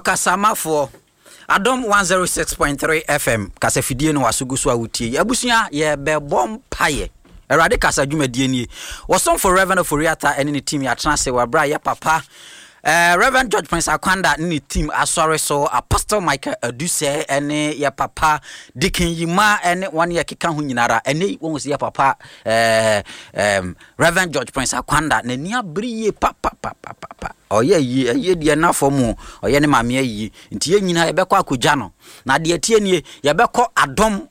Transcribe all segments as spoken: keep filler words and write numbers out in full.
Ɔkasamafoɔ Adom one oh six point three F M kasafidie no waso gu so a wotie yi. Abusua, yɛbɛbɔ mpayɛ. Awurade kasa dwumadie nie. Wɔsomfo Reverend Oforiata ne ne team yɛatena ase wɔ berɛ a yɛ papa Uh, Reverend George Prince Akwanda ne ne team asɔre so, Apostle Michael Adusɛ ne yɛ papa Deacon Yima ne wɔn yɛ keka ho nyinara. Ɛnɛ wɔn sɛ yɛ papa uh, um, Reverend George Prince Akwanda n'ani abere yie papapapapa. Ɔyɛ yie, ɛyie deɛ na fam o, ɔyɛ ne maame ayie, nti yɛn nyinaa yɛbɛkɔ akɔgya no. Na deɛ tie nie, yɛbɛkɔ Adom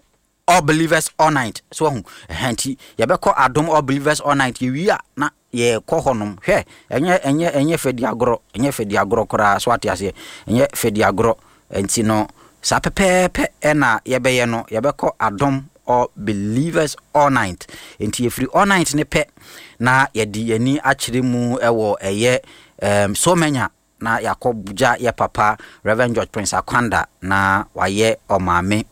All Believers All Night so ɔho ɛhɛn, nti yɛbɛkɔ Adom All Believers All Night. Yɛwie a na yɛkɔ hɔnom. Hwɛ, ɛnyɛ ɛnyɛ ɛnyɛ fɛdi agorɔ, ɛnyɛ fɛdi agorɔ koraa so, ate aseɛ? Ɛnyɛ fɛdi agorɔ. Nti no saa pɛpɛɛpɛ ɛna yɛbɛyɛ no. Yɛbɛkɔ Adom All Believers All Night, nti yɛfiri all night ne pɛ na yɛde yɛni akyerɛ mu ɛwɔ ɛyɛ um, so manya na yɛakɔ gya yɛ papa Reverend George Prince Akwanda na wayɛ ɔmaame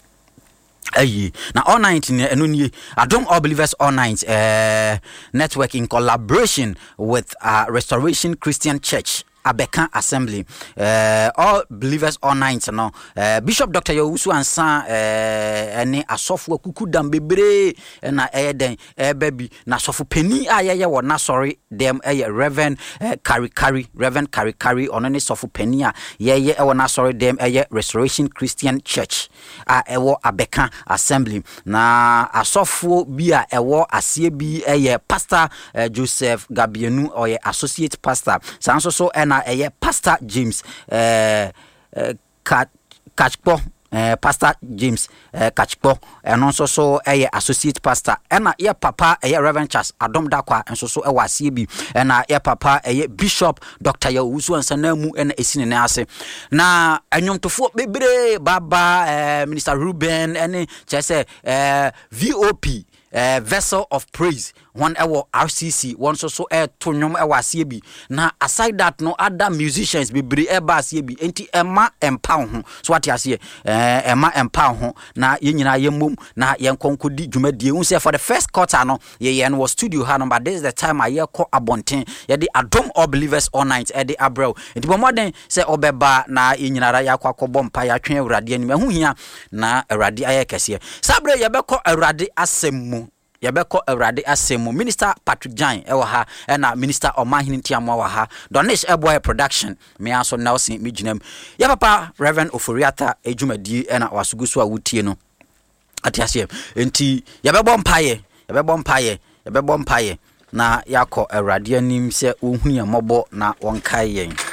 ayi. Na all night no, ɛno nie, Adom All Believers All Night uh, network in collaboration with uh, Restoration Christian Church Abɛka Assembly. uh, all Believers All Night no, uh, Bishop Doctor Yɛwusu Ansa ɛne uh, asɔfo akuku dam bebree ɛna ɛyɛ dɛn ɛbɛ bi. Na asɔfo panin a yɛyɛ wɔ n'asɔre dɛm ɛyɛ Reverend uh, Karikari, Reverend Karikari. Ɔno ne sɔfo panin a yɛyɛ ɛwɔ n'asɔre dɛm, ɛyɛ Restoration Christian Church a ɛwɔ Abɛka Assembly. Na asɔfoɔ bi a ɛwɔ aseɛ bi ɛyɛ Pastor uh, Joseph Gabienu, ɔyɛ associate pastor. Saa nso so ɛna ɛyɛ Pastor James uh, uh, Kachkpɔ, uh, Pastor James uh, Kachkpɔ, ɛno nso so ɛyɛ associate pastor. Ɛna yɛ papa ɛyɛ Reverend Charles Adom Dakwa nso so ɛwɔ aseɛ bi. Ɛna yɛ papa ɛyɛ Bishop Doctor Yɛwusu Ansanamu ɛna ɛsi ne nan ase. Na ɛnwomtofoɔ bebree baba, ɛɛ Minister Ruben ɛne kyerɛ sɛ ɛɛ V O P, uh, Vessel of Praise, wɔn ɛwɔ R C C, wɔn nso so ɛɛto nnwom ɛwɔ aseɛ bi. Na aside that no, other musicians bebree ɛba aseɛ bi, nti ɛma ɛmpa wo ho so, wate aseɛ? ɛɛ ɛma ɛmpa wo ho na yɛn nyinaa yɛn mmom na yɛn kɔ nkɔdi dwumadie n sɛ for the first quarter no, yɛyɛ no wɔ studio ha no, but this is the time a yɛkɔ abɔnten, yɛde Adom All Believers All Night ɛde abrɛw. Nti bɔ mmɔden sɛ ɔbɛba na yɛn nyinaa yɛakɔ akɔbɔ mpa, yɛatwɛn Awurade anim. Ɛho hia na Awurade ayɛ kɛseɛ. Saa berɛ yɛbɛkɔ Awurade asɛm mu, yɛbɛkɔ Awurade asɛm mu. Minister Patrick Jan ɛwɔ ha, ɛna Minister Ɔmahene Ntiamoa wɔ ha, Donish ɛboa yɛ production, mmea nso Nelson megyina mu. Yɛ papa Reverend Oforiata adwumadie ɛna wasogu so a wotie no, ate aseɛ? Nti yɛbɛbɔ mpayɛ, yɛbɛbɔ mpayɛ, yɛbɛbɔ mpayɛ na yɛakɔ Awurade anim sɛ wɔhu yɛn mmɔbɔ na wɔnkae yɛn.